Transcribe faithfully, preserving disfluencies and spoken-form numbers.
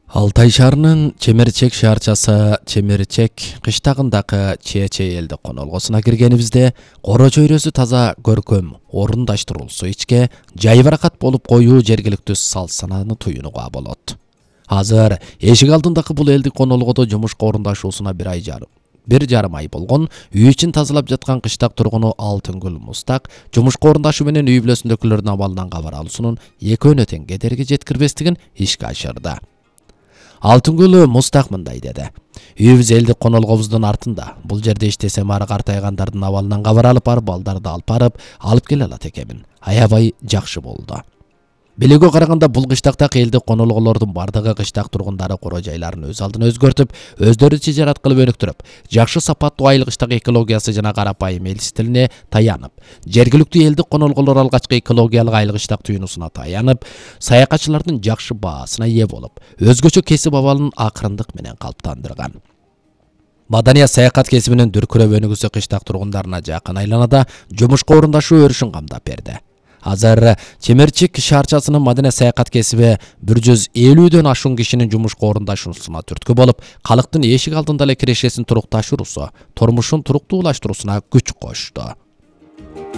Алтай шаарынын Чемерчек шаарчасы Чемерчек кыштагындагы Чече элдик конолгосуна киргенибизде коро чөйрөсү таза, көркөм, орундаштырулсу ичке жайбаракат болуп коюу жергиликтүү салт санааны туюнууга болот. Азыр эшик алдындагы бул элдик конолгодо жумушка орундашуусуна бир ай жарым бир жарым ай болгон үй ичин тазалап жаткан кыштак тургуну Алтынгүл Мустак жумушка орундашуу менен үй бүлөсүндөгүлөрдүн абалынан кабар алуусунун экөөнө тең кедерги жеткирбестигин ишке ашырды. Алтынгүл Мустак мындай деди: "Үйүбүз элдик конолгобуздун артында. Бул жерде иштесем ары картайгандардын абалынан кабар алып барып, балдарды алып барып, алып келе алат экенмин. Аябай жакшы болду. Билүүгө караганда бул кыштактагы элдик конолголордун бардыгы кыштак тургундары коро жайларын өз алдына өзгөртүп, өздөрү тижарат кылып өнүктүрүп, жакшы сапаттуу айыл кыштак экологиясы жана карапайым эл стилине таянып, жергиликтүү элдик конолголор алгачкы экологиялык айыл кыштак түйүнүсүнө таянып, саякатчылардын жакшы баасына ээ болуп, өзгөчө кесип абалын акырындык менен калыптандырган. Маданият саякат кесибинин дүркүрөп өнүгүүсү кыштак тургундарына жакын айланада жумушка орундашуу өрүшүн камдап берди. Азыр Чемерчек шаарчасынын маданият саякат кесиби бир жүз элүүдөн ашуун кишинин жумушка орундашуусуна түрткү болуп, калктын эшик алдында эле кирешесин турукташуусу, турмушун туруктуулаштыруусуна күч кошту.